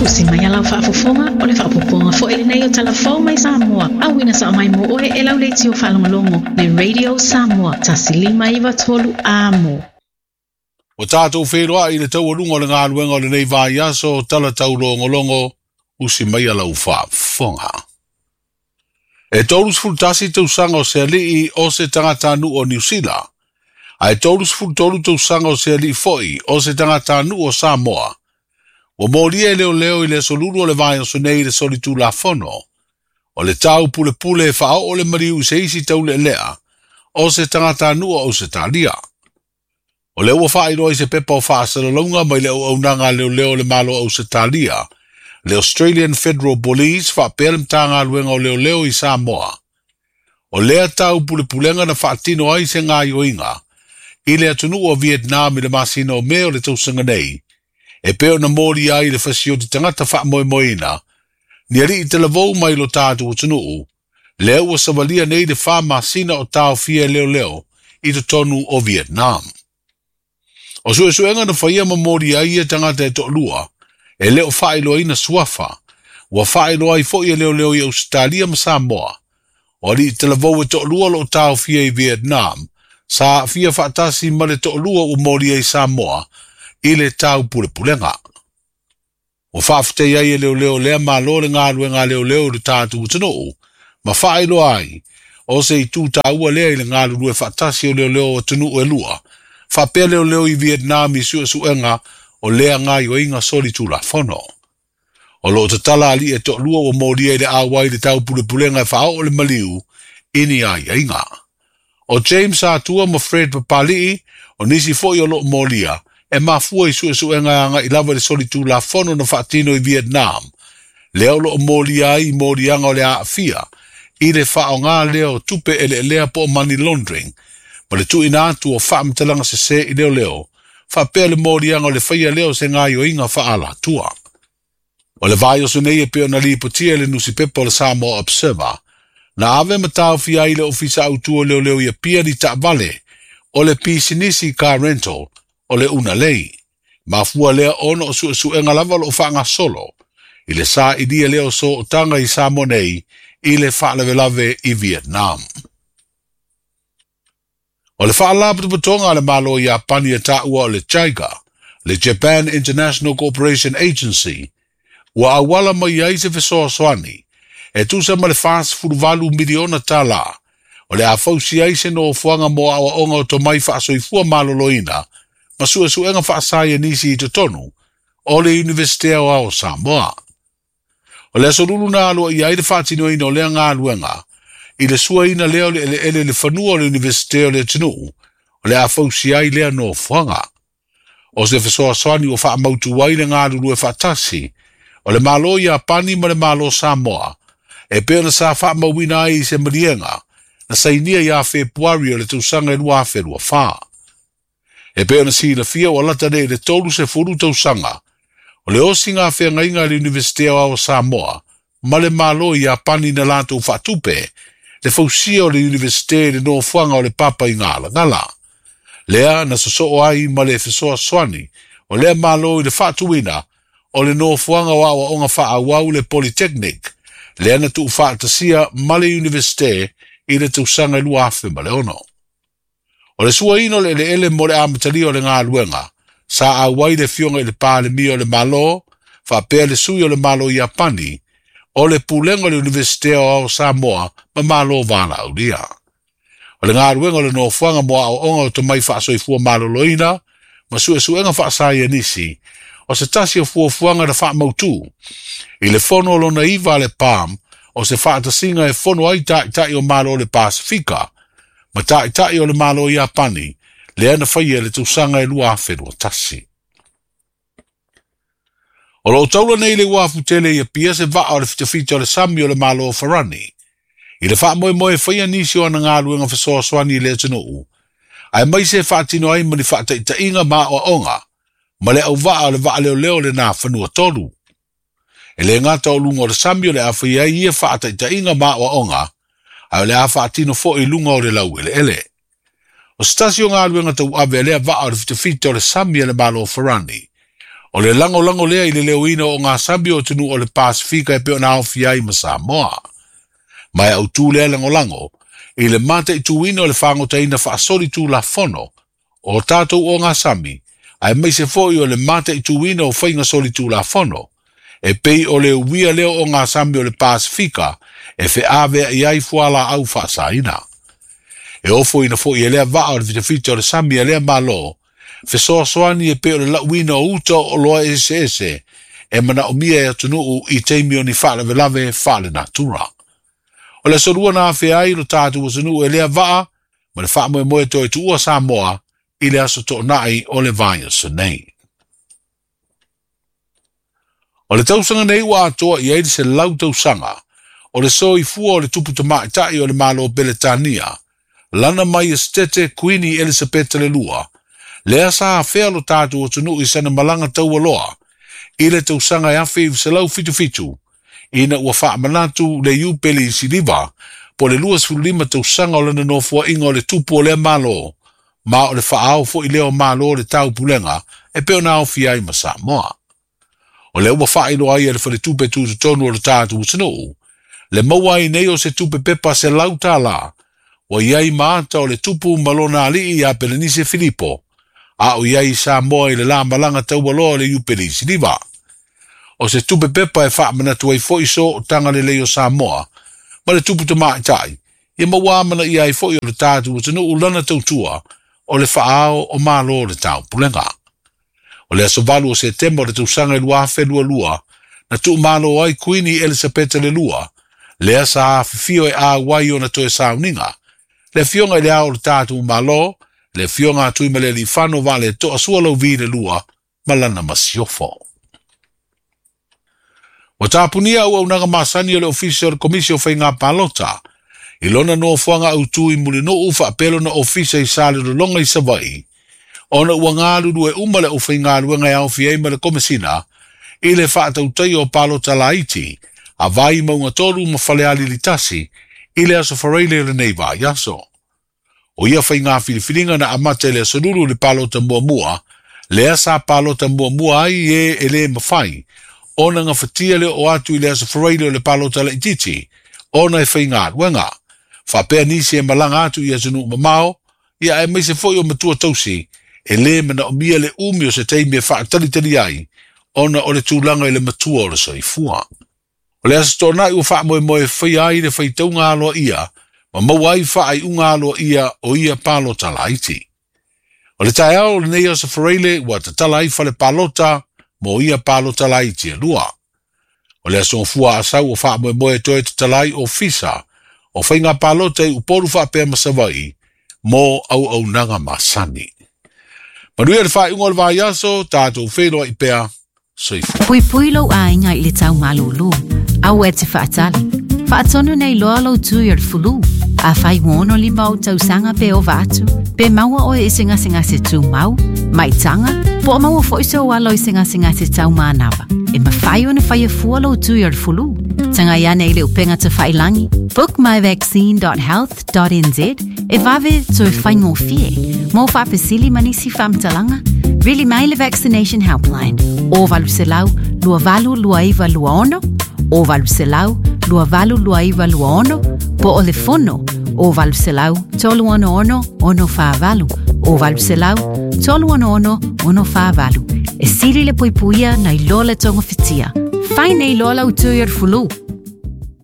Usi mai a lau faafofoga, o le faaopoopoga foi lenei o Tala Fou mai Samoa, auina sao mai mo oe e lau leitio faalogologo, le Radio Samoa, 1593 Amo. Ua tatou feiloai i le taualuga o le galuega o lenei vaiaso, tala taulogologo, usi mai a lau faafofoga. E 31 tausaga o se alii o se tagatanuu o Niu Sila, ae 33 tausaga o se alii foi o se tagatanuu o Samoa. Ua molia e leoleo i le aso Lulu o le vaiaso nei i le solitulafono. O le tau pulepule e faaoo le maliu i se isi taulealea o se tagatanuu o Ausetalia. O lea ua faailoa i se pepa o faasalalauga mai le auaunaga a leoleo o le Malo o Ausetalia, le Australian Federal Police faapea le Matagaluega o Leoleo i Samoa. O lea tau pulepulega na faatino ai se gaoioiga i le atunuu o Vietnam i le masina o Me o le tausaga nei, e pei ona molia ai le fasioti tagata faamoemoeina ni alii talavou mai lo tatou atunuu, lea ua savalia nei le 4 masina o taofia e leoleo i totonu o Vietnam. O suesuega na faia ma molia ai ia tagata e toalua, e le o faailoaina suafa, ua faailoa ai foi e leoleo i Ausetalia ma Samoa. O alii talavou e toalua o loo taofia i Vietnam, sa aafia faatasi ma le toalua ua molia i Samoa i le tau pulepulega. Ua faafetai ai e leoleo lea malo le galuega a leoleo i le tatou atunuu, ma faailoa ai o se itu taua lea i le galulue faatasi o leoleo o atunuu e lua, faapea leoleo i Vietnam i suesuega o lea gaoioiga solitulafono. O loo tatala alii e toalua ua molia i le auai i le tau pulepulega e faaoo le maliu i ni aiaiga. O James Atua ma Fred Papali'i, o nisi foi o loo molia, e mafua i suesuega e agai lava i le solitulafono na faatino i Vietnam, lea o loo molia ai i moliaga o le aafia i le faaaoga lea o tupe eleelea po o money laundering, ma le tuuina atu o faamatalaga sese i leoleo, faapea le moliaga o le faia lea o se gaoioiga faaalatua. O le vaiaso nei e pei ona lipotia i le nusipepa o le Samoa Observer, na ave ma taofia ai le ofisa autu o leoleo i Apia ni taavale o le pisinisi car rental o le Unalei. Mafua lea ona o suesuega lava o loo faagasolo i le sailia lea o sootaga i Samoa nei i le faalavelave i Vietnam. O le faalapotopotoga a le Malo o Iapani e taua o le JICA, le Japan International Cooperation Agency, ua auala mai ai se fesoasoani e tusa ma le 48 miliona tala o le a fausia ai se nofoaga mo aoaoga o tomai faasoifua maloloina ma suesuega faasaienisi i totonu o le Iunivesite Aoao o Samoa. O le aso Lulu na aloaia ai le faatinoina o lea galuega i le suaina lea o le eleele i le fanua o le Iunivesite o le atunuu o le a fausia ai lea nofoaga. O se fesoasoani ua faamautu ai le galulue faatasi o le Malo o Iapani ma le Malo o Samoa, e pei ona sa faamauina ai i se maliega na sainia ia Fepuari o le tausaga e 2024. E pei ona silafia ua lata nei i le 30 tausaga o le osiga feagaiga a le Iunivesite Aoao o Samoa ma le Malo o Iapani na latou faatupe le fausia o le Iunivesite i le nofoaga o le Papa i Galagala. Lea na sosoo ai ma le fesoasoani o lea Malo i le faatuina o le nofoaga o aoaoga faaauau le Polytechnic, lea na tuufaatasia ma le Iunivesite i le tausaga e 2006. O le suaina o le eleele mo le amatalia o le galuega, sa auai le afioga i le Palemia o le Malo, faapea le sui o le Malo o Iapani, o le pulega o le Iunivesite Aoao o Samoa ma Malo Valaaulia. O le galuega o le nofoaga mo aoaoga o tomai faasoifua maloloina ma suesuega faasaienisi, o se tasi o fuafuaga na faamautu i le fono o lona iva a le PAM, o se faatasiga e fono ai taitai o Malo o le Pasifika ma taitai o le Malo o Iapani, lea na faia i le tausaga e 2021. O loo taula nei le uafu tele i Apia se vaa o le fitafita o le sami o le Malo o Farani, i le faamoemoe e faia nisi o ana galuega fesoasoani i le atunuu, aemaise e faatino ai ma ni faataitaiga ma aoaoga ma le auvaa o le vaaleoleo o lena fanua tolu. E le gata o luga o le sami o le a faia ai ia faataitaiga ma aoaoga, ae o le a faatino foi i luga o le laueleele. O se tasi o galuega tauave a lea vaa o le fitafita o le sami a le Malo o Farani, O le lagolago lea i le leoina o ogasami o atunuu o le Pasefika e pei ona aofia ai ma Samoa. Ma e autu lea lagolago i le mataituina o le fagotaina faasolitulafono o tatou ogasami, aemaise foi o le mataituina o faiga solitulafono, e pei o le uia lea o ogasami o le Pasefika e feaveai ai fualaau faasaina. E ofoina foi e lea vaa o le fitafita o le sami a lea Malo, fesoasoani e pei o le lauina o uta o oloa eseese e manaomia e atunuu i taimi o ni faalavelave faalenatura. O le aso Lua na afea ai lo tatou atunuu e lea vaa ma le faamoemoe toe tuua Samoa i le aso Toonai o le vaiaso nei. O le tausaga nei ua atoa i ai le 100 tausaga o le soifua o le tupu tamaitai o le Malo o Peretania, Lana Maiestete Kuini Elisapeta le Lua, lea sa afea lo tatou atunuu i sana malaga taualoa i le tausaga e 1977, ina ua faamanatu le Iupeli Siliva po o le 25 tausaga o lana nofoaiga o le tupu o lea Malo, ma o le faaao foi lea o Malo o le Taupulega e pei ona aofia ai ma Samoa. O lea ua faailoa ai e le Faletupe Tutotonu o le tatou atunuu, le maua ai nei o se tupe pepa $100 ua i ai ma ata o le tupu ma lona alii ia Pelenise Filipo, a o i ai i Samoa i le la malaga taualoa o le Iupeli Siliva. O se tupe pepa e faamanatu ai foi sootaga lelei o Samoa ma le tupu tamaitai, ia ma ua amanaia ai foi o le tatou atunuu lana tautua o le faaao o Malo o le Taupulega. O le aso 8 o Setema o le tausaga e 2022, na tuumalo ai Kuini Elisapeta le Lua, lea sa afifio e auai ona toe sauniga, le afioga i le Ao o le tatou Malo, le afioga a Tuimalealiifano Vaaletoa Sualauvi le Lua ma lana masiofo. Ua tapunia auaunaga masani o le Ofisa o le Komisi o Faiga Palota i lona nofoaga autu i Mulinuu faapea lona ofisa i Salelologa i Savaii, ona ua galulue uma le aufaigaluega e aofia ai ma le Komesina i le faatautaia o palota laiti a Vaimauga 3 ma Falealili 1 i le aso Faraile o lenei vaiaso. O ia faiga filifiliga na amata i le aso Lulu i le palota muamua, lea sa palota muamua ai e e le mafai ona gafatia le oo atu i le aso Faraile o le palota laitiiti ona e faigaluega. Faapea nisi e malaga atu i atunuu mamao, ia aemaise foi o matua tausi e le manaomia le umi o se taimi e faatalitali ai ona o le tulaga i le matua o le soifua. O le aso Toonai ua faamoemoe e faia ai le faitauga aloaia ma maua ai faaiuga aloaia o ia palota laiti. O le taeao o lenei aso Faraile ua tatala ai fale palota mo ia palota laiti e lua. O le aso Gafua Asau ua faamoemoe e toe tatala ai ofisa o faiga palota i Upolu faapea ma Savaii mo auaunaga masani. Manuia le faaiuga o le vaiaso, tatou feiloai pea. Soifua. Puipui lou aiga i le tau malūlū. Aua e te faatali. Faatonu nei loa lou tui o le fulu. Afai ua 65 ou tausaga pe ova atu, pe maua oe i se gasegase tumau, maitaga, po o maua foi sou alo i se gasegase tau manava, e mafai ona faia fua lou tui o le fulu. Tagai ane i le upega tafailangi bookmyvaccine.health.nz e vave toe faigofie. Mo faafesili ma nisi faamatalaga, vili mai le Vaccination Helpline o 800 282926 o 800 282926 po o le fono o 800 366 648 o 800 366 648. E sili le puipuia nai lo le togafitia. Fai nei loa lau tui o le fulu.